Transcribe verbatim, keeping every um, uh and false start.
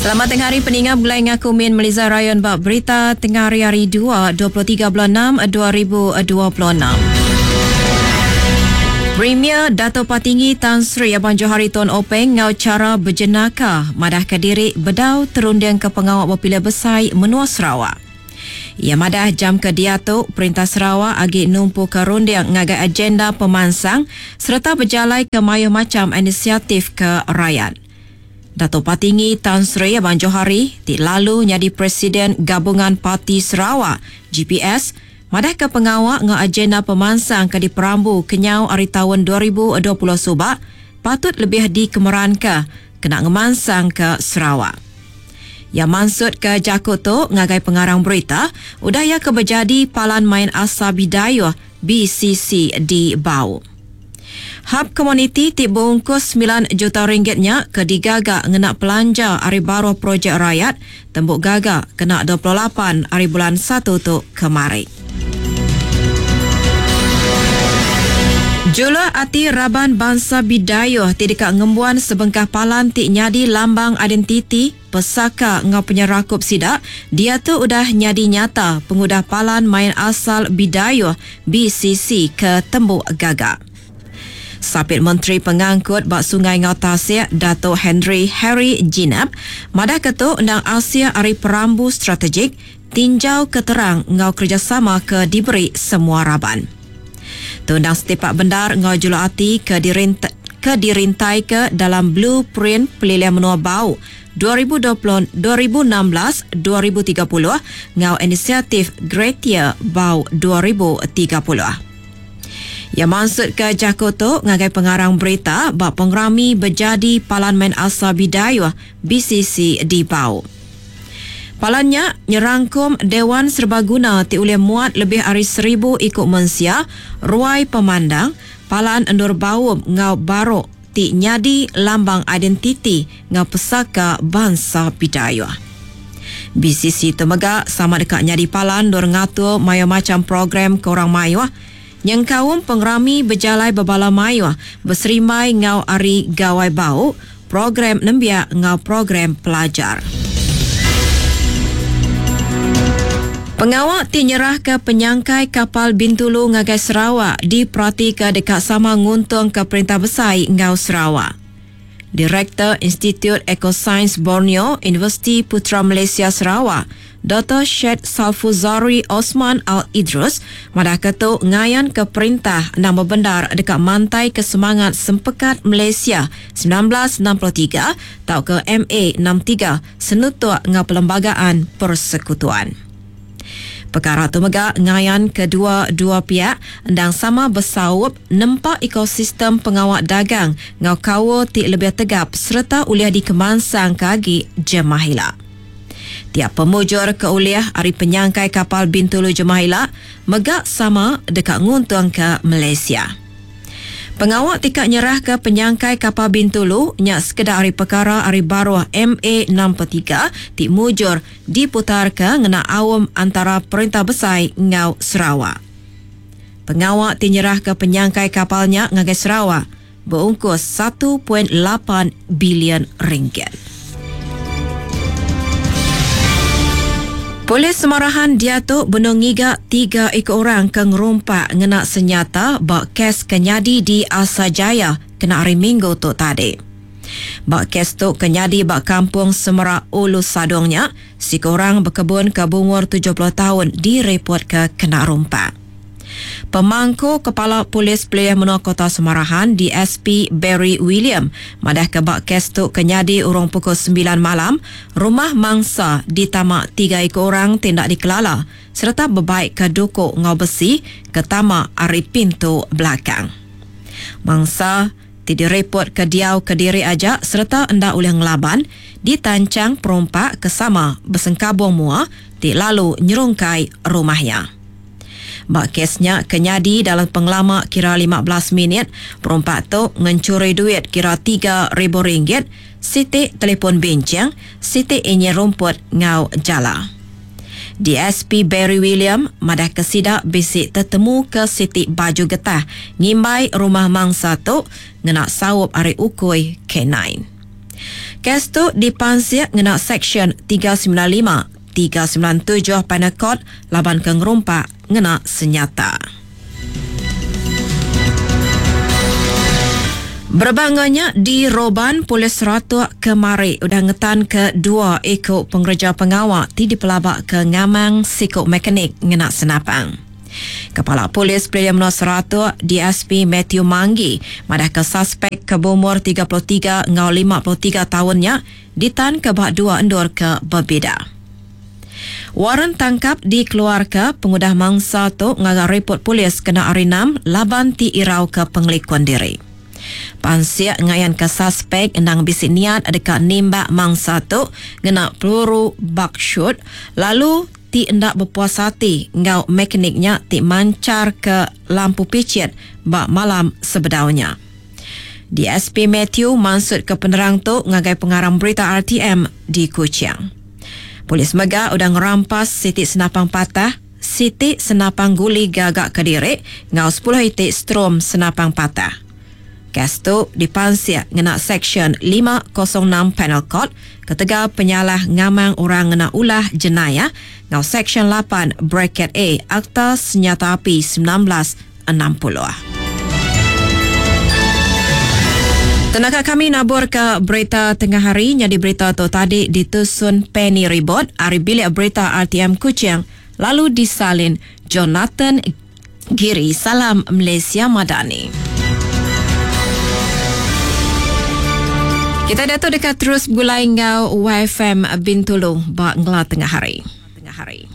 Selamat tengah hari peninga mulai ngaku Min Meliza Rayon bak berita tengah hari hari dua, dua puluh tiga bulan enam, dua ribu dua puluh enam. Premier Dato' Patinggi Tan Sri Abang Johari Tun Openg ngau cara berjenaka madah ke diri bedau terunding ke pengawak berpilih besar menua Sarawak. Ia madah jam ke diatu Perintah Sarawak agi numpu ke runding ngagai agenda pemansang serta berjalai ke mayuh macam inisiatif ke rakyat. Dato' Patinggi Tan Sri Abang Johari ti lalu jadi Presiden Gabungan Parti Sarawak G P S madah ke pengawak ngau agenda pemansang ke diperambu kenyau hari tahun dua ribu dua puluh subak patut lebih dikemeran ke kena ngemansang ke Sarawak. Ya maksud ke jaku tu ngagai pengarang berita udah ya ke berjadi Palan Main Asal Bidayuh B C C di Bau. Hub komuniti ti bungkus sembilan juta ringgitnya ke digagak ngena pelanja hari baru projek rakyat tembuk gagak kena dua puluh lapan hari bulan satu tu kemari. Jula ati Raban Bangsa Bidayuh ti dekat ngembuan sebengkah palan ti nyadi lambang identiti pesaka ngau penyerakup sidak, dia tu udah nyadi nyata pengudah palan main asal Bidayuh B C C ke Tembuk Gagak. Sapit Menteri Pengangkut Bak Sungai Ngau Tasik Dato' Henry Harry Jinep madah ketu undang Asia Ari Perambu Strategik tinjau keterang ngau kerjasama ke diberi semua raban. Tundang setipak bendar ngau jula ati ke dirint-, ke dirintai ke dalam blueprint Pelilian Menua Bau dua ribu dua puluh, dua ribu enam belas, dua ribu tiga puluh ngau inisiatif Greater Bau dua ribu tiga puluh. Ya maksud ke jaku tu ngagai pengarang berita bak pengerami berjadi Palan Main Asal Bidayuh B C C di Bau. Palannya nyerangkum Dewan Serbaguna ti ulih muat lebih ari seribu ikut mensia, ruai pemandang, palan endur baum ngau barok ti nyadi lambang identiti ngau pesaka bangsa Bidayuh. B C C tu mega sama dekat nyadi palan dor ngatur mayo macam program ke orang mayuh. Yang kaum pengerami berjalai berbala mayuh berserimai ngau ari gawai bau, program nembiak ngau program pelajar. Pengawak ti nyerah ke penyangkai kapal Bintulu ngagai Sarawak diperhati dekat sama nguntung ke Perintah Besar ngau Sarawak. Direktur Institut Ecosains Borneo Universiti Putra Malaysia Sarawak, Doktor Syed Salfuzari Osman Al-Idrus madah ketu ngayan ke perintah nama bendar dekat mantai ke semangat Sempekat Malaysia sembilan belas enam puluh tiga atau ke M A enam tiga senutuk ngau Perlembagaan Persekutuan. Perkara tu mega ngayan kedua-dua pihak endang sama bersaup nempak ekosistem pengawak dagang ngau kawo ti lebih tegap serta uliah dikemansang kagi jemahila. Tiap pemujur keuliah ari penyangkai kapal Bintulu Jemahila mega sama dekat nguntung ke Malaysia. Pengawak tikak nyerah ke penyangkai kapal Bintulu nyak sekedar ari perkara ari baruh M A enam puluh tiga ti mujur diputar ke ngena awam antara Perintah Besar ngau Sarawak. Pengawak ti nyerah ke penyangkai kapalnya ngagai Sarawak berungkus satu point lapan bilion ringgit. Polis Semarahan dia tu benung ngiga tiga ekor orang ke ngerumpak ngena senyata bak kes kenyadi di Asajaya kena hari Minggu tu tadi. Bak kes tu kenyadi bak kampung Semerak Ulu Sadongnya, si korang berkebun ke bumur tujuh puluh tahun direport ke kena rompak. Pemangku Kepala Polis Pelih Menua Kota Semarahan D S P Barry William madah ke bak kes tu kenyadi urung pukul sembilan malam, rumah mangsa ditamak tiga ekor orang tindak dikelala serta berbaik ke dukuk ngau besi ke tamak ari pintu belakang. Mangsa ti direport ke diau ke diri aja serta endak ulih ngelaban ditancang perompak ke sama bersengkabung mua ti lalu nyerungkai rumahnya. Bak kesnya kenyadi dalam pengelama kira lima belas minit, perompak tu ngencuri duit kira tiga ribu ringgit, siti telefon bincang, siti inye rumput ngau jala. D S P Barry William madah kesidak bisik tertemu ke siti baju getah ngimbai rumah mangsa tu ngena saup ari ukui K sembilan. Kes tu dipansik ngena Seksyen tiga sembilan lima, tiga sembilan tujuh Penal Code laban ke ngerumpak ngena senyata. Berebak di Roban, Polis Seratuk kemari udah ngetan ke dua eko pengerja pengawa ti dipelabak ke ngamang siku mekanik ngena senapang. Kepala Polis Pelilih Menua Seratuk D S P Matthew Manggi madah ke suspek ke berumur tiga puluh tiga ngau lima puluh tiga tahunnya ditan ke bak dua endur ke berbeza. Waran tangkap dikeluarkan pengudah mangsa tu ngaga report polis kena hari enam laban ti irau ke pengelikun diri. Pansik ngayan ke suspek endang bisi niat dekat nimbak mangsa tu ngena peluru buckshot lalu ti endak berpuas hati ngau mekaniknya ti mancar ke lampu picit bak malam sebedaunya. D S P Matthew maksud ke penerang tu ngagai pengarang berita R T M di Kuching. Polis mega udah ngerampas siti senapang patah, siti senapang guli gagak kedirik ngau sepuluh itik strom senapang patah. Kes tu dipansik ngena Seksyen lima kosong enam Penal Code ketegal penyalah ngamang orang ngena ulah jenayah ngau Seksyen lapan bracket A Akta Senjata Api sembilan belas enam puluh. Tenaga kami nabur ke berita tengah hari nyadi berita tu tadi ditusun Penny Ribot ari bilik berita R T M Kuching lalu disalin Jonathan Giri. Salam Malaysia Madani. Kita dah tu dekat terus gulai ngau Y F M Bintulu ba ngela tengah hari. Tengah hari.